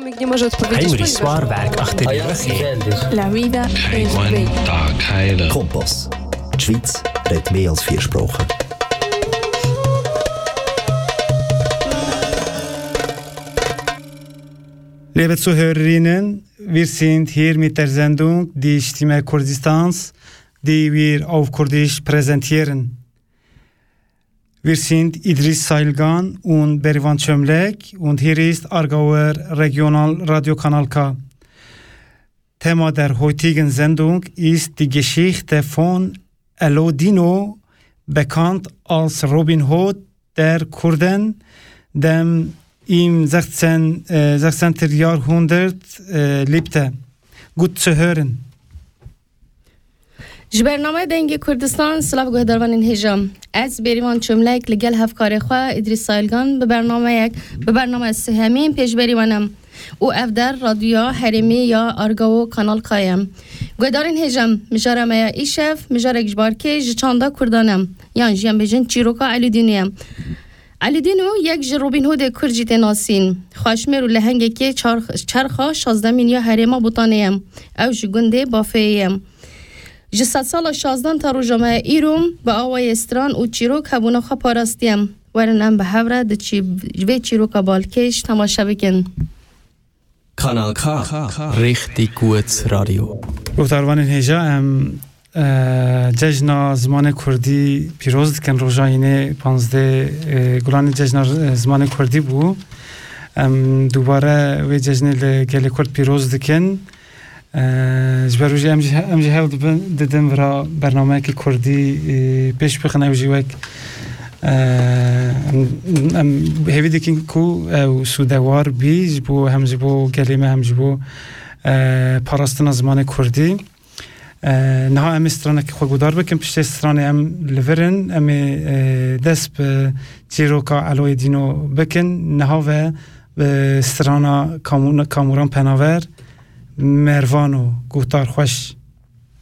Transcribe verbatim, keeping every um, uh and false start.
Heinrich Swarberg achter die Röche. La vida es bella. Kompass. Die Schweiz redet mehr als vier Sprachen. Liebe Zuhörerinnen, wir sind hier mit der Sendung Die Stimme Kurdistans, die wir auf Kurdisch präsentieren. Wir sind Idris Sailgan und Berivan Çömlek und hier ist Aargauer Regional Radio Kanal K. Thema der heutigen Sendung ist die Geschichte von Elo Dino, bekannt als Robin Hood der Kurden, dem im sechzehnten, äh, sechzehnten Jahrhundert, äh, lebte. Gut zu hören. Ji bernameyê Dengê Kurdistan, silav guhdarvanên hêja. Ez Bêrîvan Çömlek li gel hevkarê xwe Îdrîs Sayilgan bi bernameyek, bi bernameya sihemîn pêşberî we ne. Û ev der Radyoya Herêmî ya Argao Kanal K ye. Guhdarên hêja, mijara me ya îşev, mijarek ji barkê ji çanda Kurdan e. Yan jî em bêjin çîroka Elî Dînû ye. Elî Dînû yek ji Robin Hoodê Kurd jî tê nasîn. Xweşmêr û lehengekê çar-, çerxa şazdemîn ya herêma Botanê ye. Ew ji gundê Bafeyê ye. Ji sedsala şazdan ta roja me îro bi awayê stran û çîrok hebûna xwe parastiye. Werin em bi hev re di çî-, vê çîroka balkêş temaşe bikin. Kanal K, Richtig gut Radio. Guhdarvanên hêja, em, e, cejna zimanê kurdî pîroz dikin. Roja hînê panzdeh, e, Gulanê cejna, e, zimanê kurdî bû. Em dubare wê cejnê li gelê kurd pîroz dikin. E, ji ber wî jî em jî, em jî hewl dibin, didin vira bernameyekî kurdî, e, pêş bixin, ew jî wek, e, em, em hêvî dikin ku ew sûdewar bî ji bo, hem ji bo gelê me hem ji bo, e, parastina zimanê kurdî. E, niha em ê stranekî xwe guhdar bikin, piştê stranê em li vir in, em ê, e, dest bi çîroka Eloyê Dîno bikin. Niha ve, e, strana Kamû-, Kamûran Penaver, Mervano, guhdar xweş.